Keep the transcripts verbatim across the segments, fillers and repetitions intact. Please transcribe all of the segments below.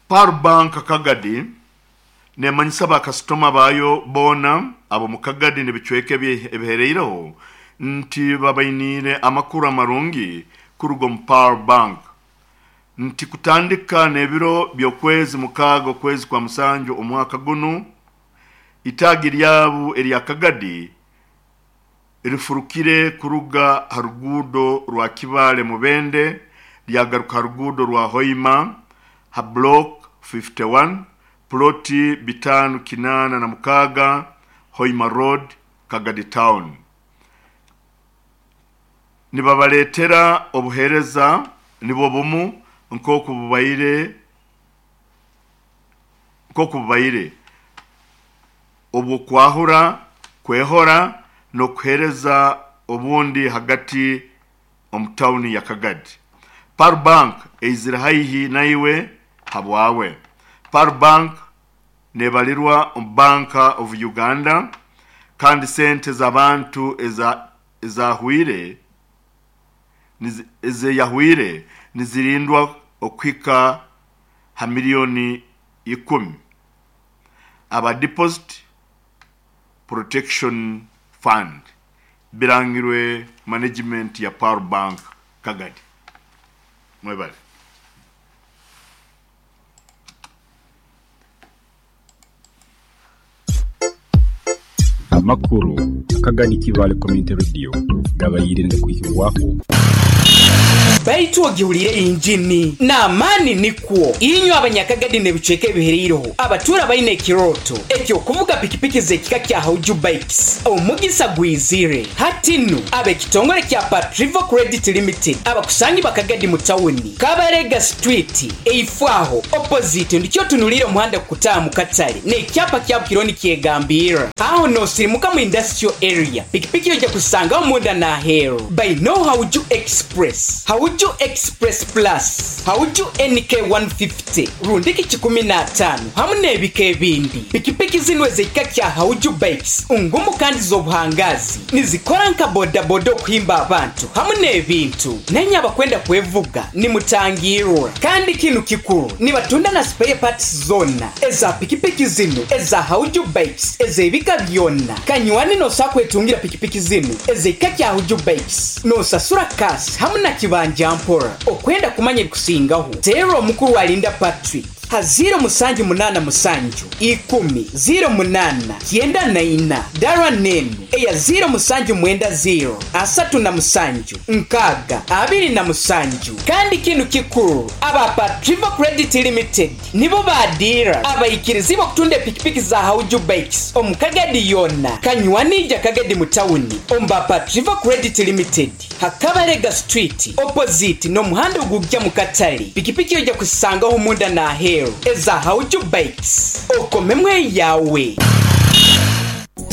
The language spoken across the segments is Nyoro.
Pearl Bank Kagadi nemanyisa bakasitoma bayo boona abo mu Kagadi n'ebicweka ebihereireho nti babainiire amakuru amarungi kuruga omu Pearl Bank nti kutandika n'ebiro by'okwezi mukaaga okwezi kwa musanju omwaka gunu itaagi lyabu erya Kagadi rifurukire kuruga ha ruguudo rwa Kibaale Mubende lyagaruka ha ruguudo rwa Hoima ha block fifty-one ploti bitano kinana na mukaga Hoima Road Kagadi Town. Nibabaletera obuhereza nibwo bumu nkoku bubaire nkoku bubaire obwo kwahura kwehora nokuhereza obundi hagati omu tawuni ya Kagadi. Pearl Bank eizire haihi naiwe habwawe. Pearl Bank nebalirwa omu Bank of Uganda kandi sente z'abantu eza ezahwire ezeyahwire nizirindwa okuhika ha milioni ikumi. Aba Deposit Protection Fund birangirwe management ya Pearl Bank Kagadi. Mwebale. Amakuru Kagadi Kibaale Community Radio gabayirinde kuhibwaho. Baitu ogiwulire injini n'amaani nikwo inywe abanyakagadi n'ebicweka ebihereireho abatura baine ekiroto ekyokuvuga pikipiki z'ekika kya Hauju Bikes omugisa gwizire hati nnu ab'ekitongole kya Patrivo Credit Limited abakusangi bakagadi mu tawuni Kabarega Street eifwaho opposite ndikyo tunulire omuhanda kukutaaha mu katale n'ekyapa kya Bukironi kyegambira aho nosirimuka mu industrial area pikipiki ojja kusangaho munda n'aheeru by no Hauju Express Hauju Express Plus Hauju N K one fifty rundiki kikumi na tano hamu n'ebika ebindi. Pikipiki zino ez'ekika kya Hauju Bikes ngumu kandi z'obuhangazi nizikora nka bodaboda okuhimba abantu hamu n'ebintu nenye abakwenda kwevuga nimutangirwa. Kandi kinu kikuru nibatunda na spare parts zona eza pikipiki zino eza Hauju Bikes ez'ebika byonna. Kanywani nosakwetungira pikipiki zino ez'ekika kya Hauju Bikes nosasura kasi hamu na kibanja mpora. Okwenda kumanya ebikusingaho teera omukuru alinda Patrick ha ziro musanju munana musanju ikumi ziro munana kyenda na ina dara nenu eya ziro musanju mwenda ziro asatu na musanju nkaga abiri na musanju. Kandi kinu kikuru aba Patrivo Credit Limited nibo badira abaikirizibo kutunda pikipiki za Hauju Bikes omukagadi yona kanywanija Kagadi mutawuni omba Patrivo Credit Limited Hakabarega Street opposite no muhanda ogujja mu katale pikipiki ojja kusangaho munda na aheeru eza Hauju Bikes okomemwe yawe.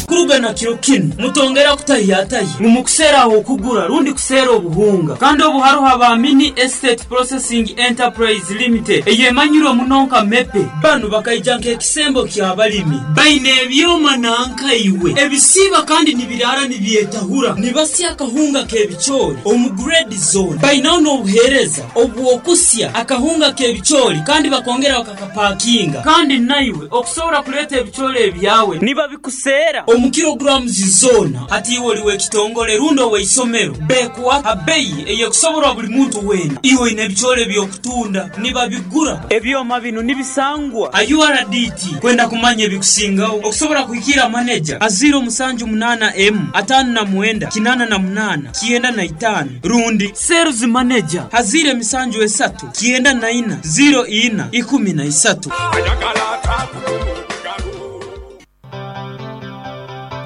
Kuruga na kiro kinu mutongera kutayatayi mumukusera okugura rundi kusera obuhunga kandi obuharuha ba Mini Estate Processing Enterprise Limited eyemanyirwe munonka mepe banu bakaija nk'ekisembo ky'abalimi baine ebyoma nankaiwe ebisiba kandi nibirara nibyetahura nibasya akahunga k'ebicoori omu grade zone bainaho n'obuheereza obwokusya akahunga k'ebicoori kandi bakongera bakakapakinga kandi naiwe okusobora kuleeta ebicoori ebyawe nibabikusera omu kilograms zona hati iwe oliwe ekitongole rundo weisomero bekwa abeyi eyekusoborwa buli muntu wena iwe ine ebicoori ebyokutunda nibabigura ebyoma bino nibisangwa a U R D T kwenda kumanya ebikusingaho okusobora kuhikira manager a zero musanju munana m atano na mwenda kinana na munana kienda na itano rundi sales manager hazire misanju esatu kienda na ina zero ina ikumi na isatu.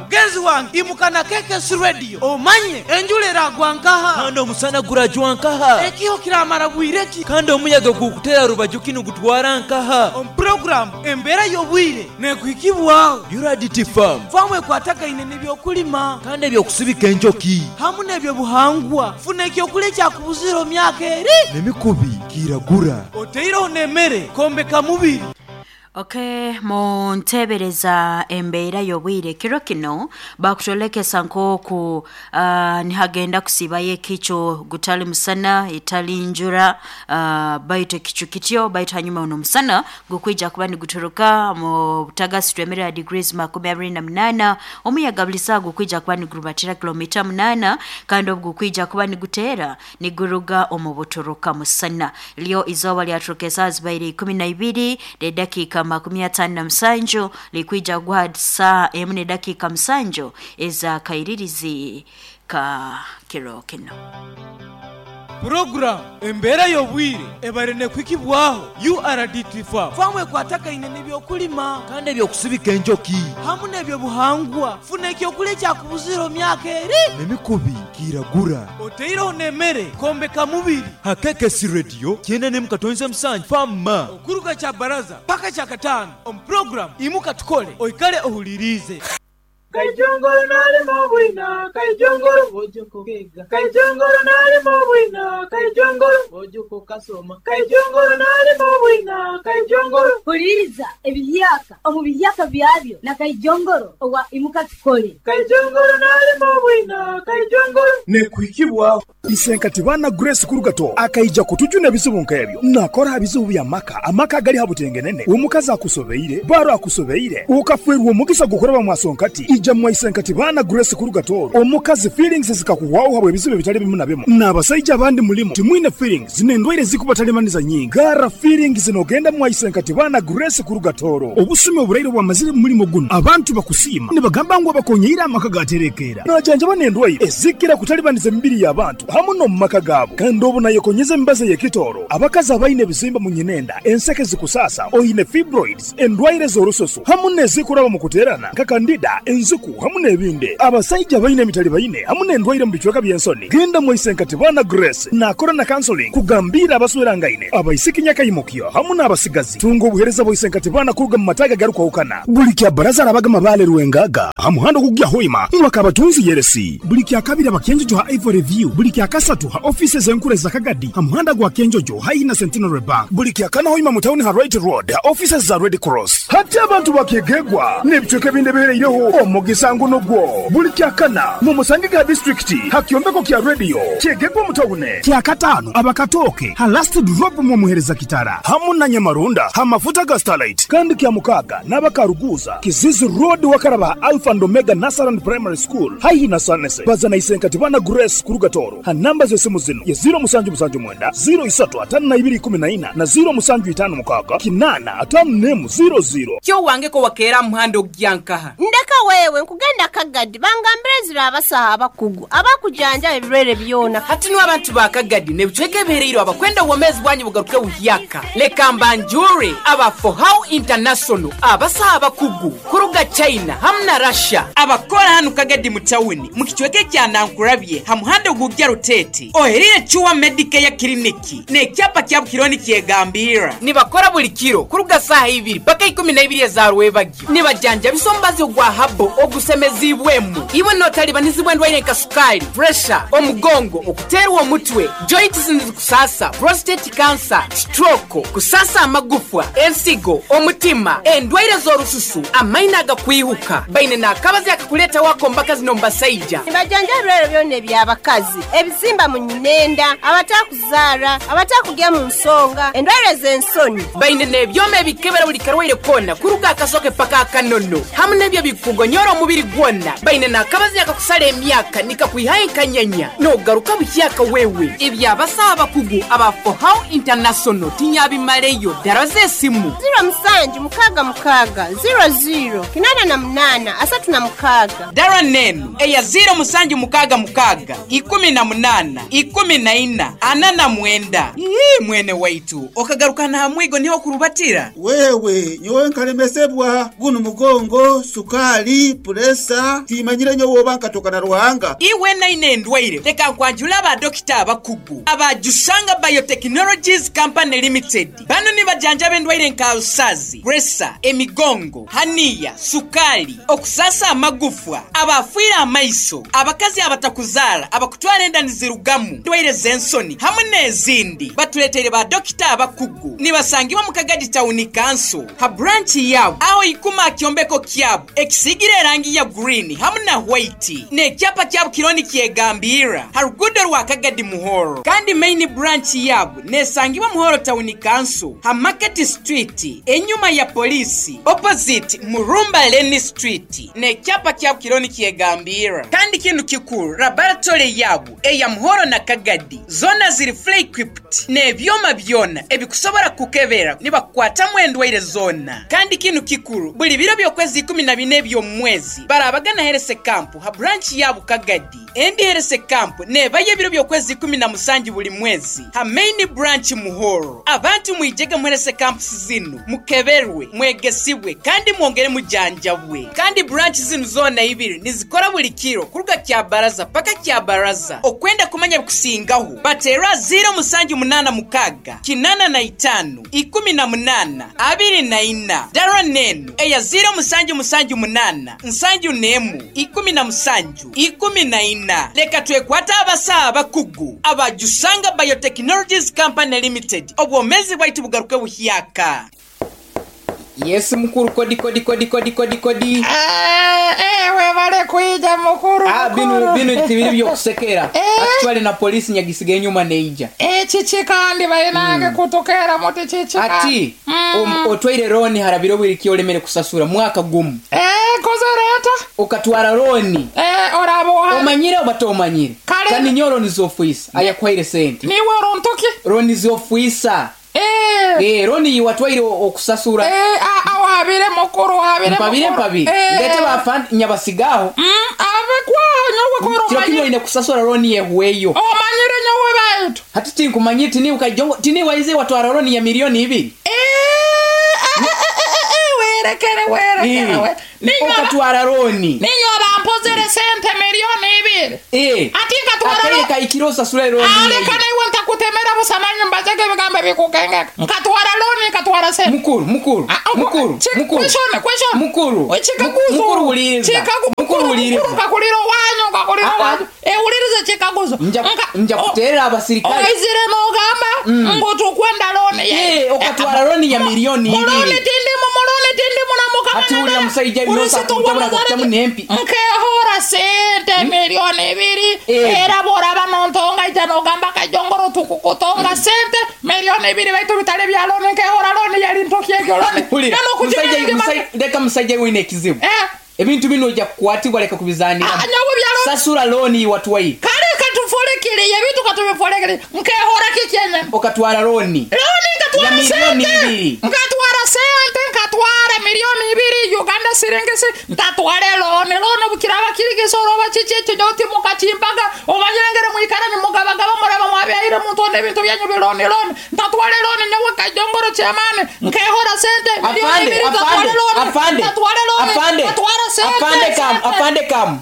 Mugenzi wange imukana K K S Radio omanye enjula eragwa nkaha kandi omusana gurajwa nkaha ekiho kiramara bwireki kandi omuyaga gukutera rubaju kinu gutwara nkaha omu program embeera y'obwire nekuhikibwaho U R D T Farm famu ekwatagaine n'ebyokulima kandi ebyokusibika enjoki hamu n'ebyobuhangwa funa ekyokulya ekyakubuzira omu myaka eri n'emikubi kiragura oteireho n'emmere kombeka mubiri. Okay, muntebereza embeera y'obwire kiro kino bakutolekesa nk'oku uh, nihagenda kusibayo ekicu gutali musana etali njura uh, baitu ekicu kityo baitu hanyuma uno musana gukwija kuba niguturuka mu butagasi twemerera degrees makumi abiri na munana omuyaga buli saawa gukwija kuba nigurubatira kilomita munana kandi obu gukwija kuba niguteera niguruga omu buturuka musana lyo izooba lyaturuka esaawa zibaire ikumi na ibiri n'edakiika makumi atano na musanju likwija guha saa emu n'edakiika musanju ez'akairirizi ka kiro kino. Program embeera y'obwire ebare nekwikibwaho U R D T Farm famwe kwatakaine n'ebyokulima kandi ebyokusibika enjoki hamu n'ebyobuhangwa funa ekyokulya ekyakubuzira myaka eri n'emikubi kiragura oteireho n'emmere kombeka mubiri hakekesi radio kyenda n'emu katonze musanju fama okuruga kya baraza paka kya kataano omu program imuka tukole oikale ohulirize. Kaijongoro nalimo bwina, kaijongoro bojoko kega. Kaijongoro nalimo bwina, kaijongoro bojoko kasoma. Kaijongoro nalimo bwina, kaijongoro. Huliriza ebiyaka omu biyaka byabyo na kaijongoro owa imuka tukole. Kaijongoro nalimo bwina, kaijongoro. Nekuhikibwa Isenkati bana Grace Kurugato akaija kutujuna ebizibu nk'ebyo nakora ebizibu bya maka amaka gali habutengenene omukazi akusobeire baro akusobeire ukafwerwa omugisa gukoraba mwasonkati ija mwaisenkati bana Grace Kurugato omukazi feelings zikakuwawo habwe ebizibu bitali bimu na bimu n'abasajja abandi mulimo timwine feelings n'endwaire zikubatalemaniza nyingi gara feelings nogenda mwaisenkati bana Grace Kurugatoro obusumi oburaire bwamazire mu mulimo guno abantu bakusiima nibagamba ngu abakonyeira amaka gaterekera najanjaba n'endwaire ezikira kutalibaniza emibiri y'abantu hamu no mumaka gaabo kandi obu nayekonyeza emibazi y'ekitoro abakazi abaine ebizimba mu nyinenda enseke zikusasa oine fibroids endwaire z'orususu hamu n'ezikuraba mu kuterana nka kandida enzuku hamu n'ebindi abasajja baine emitali baine hamu n'endwaire mu bicweka by'ensoni genda mwaisenkati bana Grace nakora na counseling kugambira abaswerangaine abaisiki nyakayimukyo hamu n'abasigazi tunga obuhereza bwaisenkati bana kuruga mu mataga garukwahukana buli kya baraza arabaga mabale rwengaga hamuhando kugya hoima mwakabatunzi yeresi buli kya kabiri abakenjojo ha Ivory View buli kya kasatu ha offices enkure za Kagadi hamuhanda gwa Kenjojo haina Centenary Bank buli kya kana hoima mu town ha Right Road ha offices za Red Cross hati abantu bakegegwa n'ebicweka ebindi bihereireho omugisango nogwo buli kya kana mu Musangiga district hakyombeko kya radio kyegegwa mu town kya katano abakatoke ha last drop mu muhereza kitara hamu na Nyamarunda ha mafuta ga Starlight kandi kya mukaga n'abakaruguza Kizizi Road wakaraba Alpha and Omega Nasaran Primary School haihi na Sanese bazana isenkati bana Grace Kurugatoro ha namba z'esimu zino ya zero musanju musanju mwenda zero isatu atano na ibiri kumi na ina na zero musanju itano mukaga kinana atano nemu zero zero. Kyo wange ko wakeera muhando gyankaha ndeka wewe nkugenda Kagadi bangambire zira abasaha abakugu abakujanja ebirwere byona hati no abantu ba Kagadi nebicweka ebihereire abakwenda obwomezi bwanyu bugaruke buhyaka leka mbanjure aba For How International abasaha abakugu kuruga China hamwe na Russia abakora hano Kagadi mu tawuni mu kicweka kya Nankurabye ha muhando gugya Rutete oherire Chuwa Medicare Clinic n'ekyapa kya Bukironi kyegambira nibakora buli kiro kuruga saha ibiri paka ikumi na ibiri za rwebagyo nibajanja bisombazi ogwa habo ogusemezibwemu iwe notalibanizibwa endwaire nka sukali pressure omugongo okuterwa omutwe joints kusasa prostate cancer stroke kusasa amagufwa ensigo omutima endwaire z'orususu amaina agakwihuka baine n'akabazi akakuleta wako mbakazi nombasaija nibajanja ebirwere byona eby'abakazi ebizimba mu nyinenda abatakuzaara abatakugya mu nsonga endwaire z'ensoni baine n'ebyoma ebikebera buli karwaire kona kuruga akasoke paka akanono hamu n'ebyo bikugonyora omubiri gwona baine n'akabazi akakusala emyaka nikakwihayo enkanyanya n'ogaruka buhyaka wewe ebyabasaha abakugu aba For How International tinyabimaleyo ddala z'esimu zero musanju mukaaga mukaaga zero zero kinana na munana asatu na mukaaga dara nenu eya zero musanju mukaaga mukaaga ikumi na munana ikumi na ina ana na mwenda. Ii mwene waitu okagarukana hamwigo niho kurubatira wewe nyowe nkalemesebwa guno mugongo sukali Sukali, puresa, timanyire nyowe oba nkatoka na Ruhanga. Iwe naine endwaire leka nkwanjula abadokita abakugu abajusanga Biotechnologies Company Limited. Bano nibajanjaba endwaire nka alusazi, presa, emigongo, haniya, sukali, okusasa amagufwa, abafiire amaiso, abakazi abatakuzaala, abakutwara enda nizirugamu, endwaire z'ensoni hamwe n'ezindi. Batuleeteire badokita abakugu nibasangibwa mu Kagadi Town Council ha branch yabo aho ikuma kyombeko kyabo ekisiigire erangi ya green hamwe na white n'ekyapa kyabo kironi kyegambira ha rugudo rwa Kagadi Muhoro. Kandi main branch yabo nesangibwa Muhoro Town Council ha Market Street enyuma ya polisi opposite Murumba Lane Street n'ekyapa kyabo kironi kyegambira. Kandi kintu kikuru laboratory yabo eya Muhoro na Kagadi zona ziri fully equipped n'ebyoma byona ebikusobora kukebera nibakukwatamu endwaire zona. Kandi kintu kikuru buli biro by'okwezi ikumi na bine by'omwezi barabagana herese kampu ha branch yabo Kagadi. Endi herese kampu nebaye ebiro by'okwezi ikumi na musanju buli mwezi ha main branch Muhoro. Abantu mwijege muherese kampu zinu mukeberwe, mwegesibwe kandi mwongere mujanjabwe. Kandi branch zinu zona ibiri nizikora buli kiro kuruga kya baraza paka kya baraza. Okwenda kumanya bikusingaho batera zero musanju munana mukaga kinana na itanu ikumi na munana abiri na ina dara nenu eya zero musanju musanju munana nsanju nemu ikumi na musanju ikumi na ina. Leka twekwata abasawo abakugu abajusanga Biotechnologies Company Limited. Obwomezi bwaitu bugaruke buhyaka. Yes mukuru, kodi kodi kodi kodi kodi kodi. Eh eh webale kuija mukuru. Ah binu binu tibiri byokusekera. Eh? Actually na polisi nyagisiga enyuma neija. Eh chichi kandi bainange mm. kutokera muti chichi. Ati mm. um, otwaire roni harabiro bwiri olemere kusasura mwaka gumu. Eh kozereta. Okatwara roni. Eh orabo. Omanyire obatomanyire. Kandi nyoro nizofuisa ayakwaire sente. Niwe rontoki. Roni zofuisa. Eh eh roni watwaire okusasura. Eh a wabire mukuru wabire mpabire mpabire. Eh. Ndete bafa nyabasigaho. Mm ave kwa nyowe koro. Kiro kino ine kusasura roni yehueyo. Omanyire nyowe baitu. Hati tinkumanyire tini ukajongo tini waize watwara roni ya milioni ibiri. Eh eh eh werekere werekere we. Okatwara roni. Ninyo bampozere sente milioni ibiri. Eh. Ati katwara roni. Akeka ikirosa sura roni. Aleka naiwe ntakutemera busamanyi mbazege bigambo bikukengeka. Nkatwara roni nkatwara sente. Mukuru mukuru. Mukuru mukuru. Question question. Mukuru. Chikaguzo. Mukuru uliriza. Chikagu mukuru uliriza. Mukuru kakuliro wanyu kakuliro wanyu. Eh uliriza chikaguzo. Nja nja kuterera abasirikali. Oizire nogamba ngo tukwenda roni. Eh okatwara roni ya milioni ibiri. Muloni tindimu muloni tindimu na mukama. Ati uli musajja binosa kutabula kutamu nempi. Nkehora sente milioni ibiri. Era bora banontonga ijano gamba kajongoro tukukutonga sente milioni ibiri baitu bitale bya loni nkehora loni yali ntoki ekyo loni. Musajja musajja leka musajja wine kizibu. Eh ebintu bino ojja kukwatibwa leka kubizanira. Ah nyawe bya loni. Sasura loni watwaire. Kale katufolekere ebintu katubifolekere nkehora kikyenye. Okatwara loni. Loni nkatwara sente. Nkatwara sente nkatwara milioni ibiri Uganda siringisi ntatware loni loni bukiraba kirigisoro bachichecho nyoti mukachimbaga omanyirengere mwikara ni mugabagaba muraba mwabyaire muntu n'ebintu byanyu biloni loni ntatware loni nyawe kajongoro chamane nkehora sente milioni ibiri ntatware loni afande ntatware loni afande ntatwara sente afande kam afande kam.